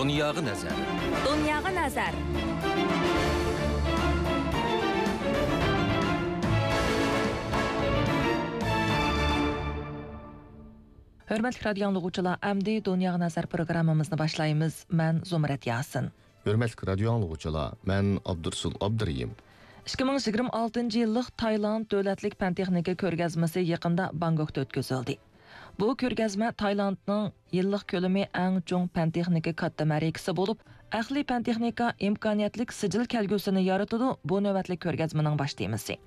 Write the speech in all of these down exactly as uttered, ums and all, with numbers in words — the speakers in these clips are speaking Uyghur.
دۇنياغا نەزەر. دۇنياغا نەزەر. ھۆرمەتلىك رادىيو ئاڭلىغۇچىلار، ئەمدى دۇنياغا نەزەر پروگراممىمىزنى باشلايمىز. مەن زۇمرەت ياسىن. ھۆرمەتلىك رادىيو ئاڭلىغۇچىلار، مەن ئابدۇرسۇل ئابدۇرېھىم. ئىككى مىڭ يىگىرمە ئالتىنچى يىللىق تايلاند دۆلەتلىك پەن-تېخنىكا كۆرگەزمىسى يېقىندا بانگكوكتا ئۆتكۈزۈلدى. بۇ كۆرگەزمە تايلاندنىڭ يىللىق كۆلىمى ئەڭ چوڭ پەن-تېخنىكا كاتتا مەرىكىسى بولۇپ، ئەقلىي پەن-تېخنىكا ئىمكانىيەتلىك سىجىل كەلگۈسىنى يارىتىدۇ، بۇ نۆۋەتلىك كۆرگەزمىنىڭ باش تېمىسى.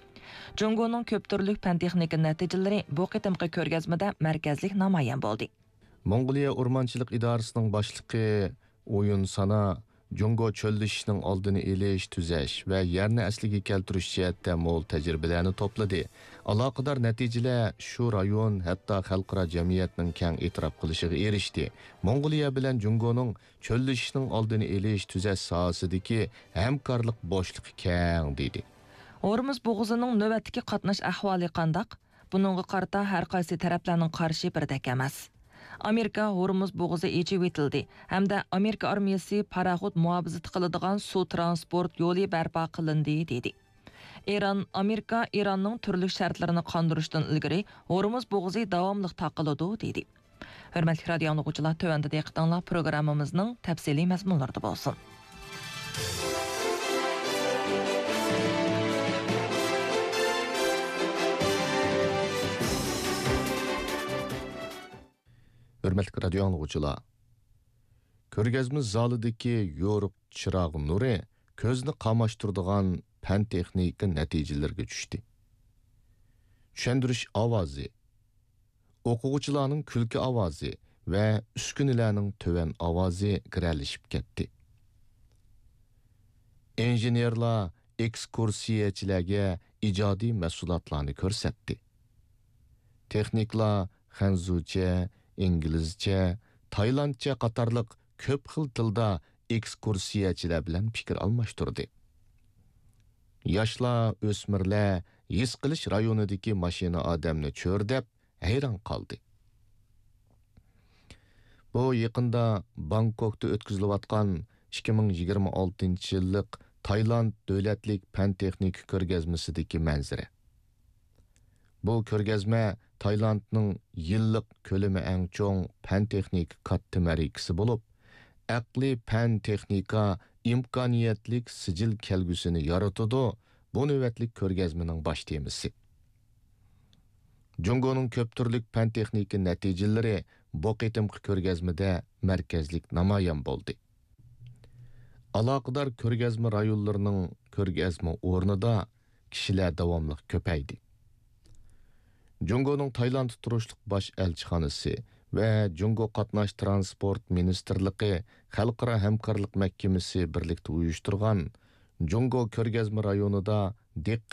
جۇڭگونىڭ كۆپ تۈرلۈك پەن-تېخنىكا نەتىجىلىرى بۇ قېتىمقى كۆرگەزمىدە مەركەزلىك نامايان بولدى. موڭغۇلىيە ئورمانچىلىق ئىدارىسىنىڭ باشلىقى ئويۇن سانا جۇڭگو چۆللىشىشنىڭ ئالدىنى ئېلىش، تۈزەش ۋە يەرنى ئەسلىگە كەلتۈرۈش جەھەتتە مول تەجرىبىلەرنى توپلىدى. ئالاقىدار نەتىجىلەر شۇ رايون، ھەتتا خەلقئارا جەمئىيەتنىڭ كەڭ ئېتىراپ قىلىشىغا ئېرىشتى. موڭغۇلىيە بىلەن جۇڭگونىڭ چۆللىشىشنىڭ ئالدىنى ئېلىش، تۈزەش ساھەسىدىكى ھەمكارلىق بوشلۇقى كەڭ، دېدى. ھورمۇز بوغۇزىنىڭ نۆۋەتتىكى قاتناش ئەھۋالى قانداق؟ بۇنىڭغا قارىتا ھەر قايسى تەرەپلەرنىڭ قارىشى بىردەك ئەمەس. ئامېرىكا ھورمۇز بوغۇزى ئېچىۋېتىلدى ھەمدە ئامېرىكا ئارمىيەسى پاراخوت مۇھاپىزىتى قىلىدىغان سۇ ترانسپورت يولى بەرپا قىلىندى، دېدى. ئىران، ئامېرىكا ئىراننىڭ تۈرلۈك شەرتلىرىنى قاندۇرۇشتىن ئىلگىرى ھورمۇز بوغۇزى داۋاملىق تاقىلىدۇ، دېدى. ھۆرمەتلىك رادىيو ئاڭلىغۇچىلار، تۆۋەندە دىققىتىڭلار پروگراممىمىزنىڭ تەپسىلىي مەزمۇنلىرىدا بولسۇن. ھۆرمەتلىك رادىيو ئاڭلىغۇچىلار، كۆرگەزمە زالىدىكى يورۇق چىراغ نۇرى كۆزنى قاماشتۇرىدىغان پەن-تېخنىكا نەتىجىلىرىگە چۈشتى. چۈشەندۈرۈش ئاۋازى، ئوقۇغۇچىلارنىڭ كۈلكە ئاۋازى ۋە ئۈسكۈنىلەرنىڭ تۆۋەن ئاۋازى گىرەلىشىپ كەتتى. ئىنژېنېرلار ئېكسكۇرسىيەچىلەرگە ئىجادىي مەھسۇلاتلارنى كۆرسەتتى. تېخنىكلار خەنزۇچە، ئىنگلىزچە، تايلاندچە قاتارلىق كۆپ خىل تىلدا ئېكسكۇرسىيەچىلەر بىلەن پىكىر ئالماشتۇردى. ياشلار، ئۆسمۈرلەر ھېس قىلىش رايونىدىكى ماشىنا ئادەمنى چۆرىدەپ، ھەيران قالدى. بۇ يېقىندا بانكوكتا ئۆتكۈزۈلۈۋاتقان ئىككى مىڭ يىگىرمە ئالتىنچى يىللىق تايلاند دۆلەتلىك پەن-تېخنىكا كۆرگەزمىسىدىكى مەنزىرە. بۇ كۆرگەزمە تايلاندنىڭ يىللىق كۆلىمى ئەڭ چوڭ پەن-تېخنىكا كاتتا مەرىكىسى بولۇپ، ئەقلىي پەن-تېخنىكا ئىمكانىيەتلىك سىجىل كەلگۈسىنى يارىتىدۇ، بۇ نۆۋەتلىك كۆرگەزمىنىڭ باش تېمىسى. جۇڭگونىڭ كۆپ تۈرلۈك پەن-تېخنىكا نەتىجىلىرى بۇ قېتىمقى كۆرگەزمىدە مەركەزلىك نامايان بولدى. ئالاقىدار كۆرگەزمە رايونلىرىنىڭ كۆرگەزمە ئورنىدا كىشىلەر داۋاملىق كۆپەيدى. جۇڭگونىڭ تايلاندتا تۇرۇشلۇق باش ئەلچىخانىسى ۋە جۇڭگو قاتناش ترانسپورت مىنىستىرلىقى خەلقئارا ھەمكارلىق مەھكىمىسى بىرلىكتە ئۇيۇشتۇرغان جۇڭگو كۆرگەزمە رايونىدا دىققەت